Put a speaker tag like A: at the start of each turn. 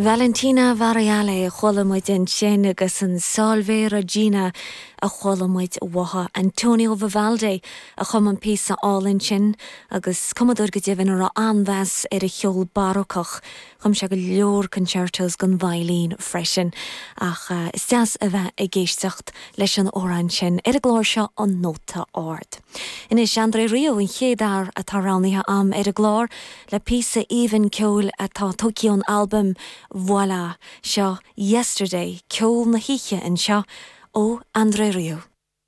A: Valentina Varriale a chuala muid ansin agus an Salve Regina a chuala muid uaithi. Antonio Vivaldi a chum an píosa álainn sin agus cumadóir go deimhin a raibh an-mheas ar a cheol barócach. Chum sé go leor concertos don veidhlín freisin. Ach is deas a bheith ag éisteacht leis an amhrán sin ar an gclár seo An Nóta Ard. Anois, André Rieu an chéad fhear atá roghnaithe a'm ar an gclár le píosa aoibhinn ceoil atá tógtha ón albam Voilà! Seo Yesterday, ceol na hoíche anseo ó André Rieu.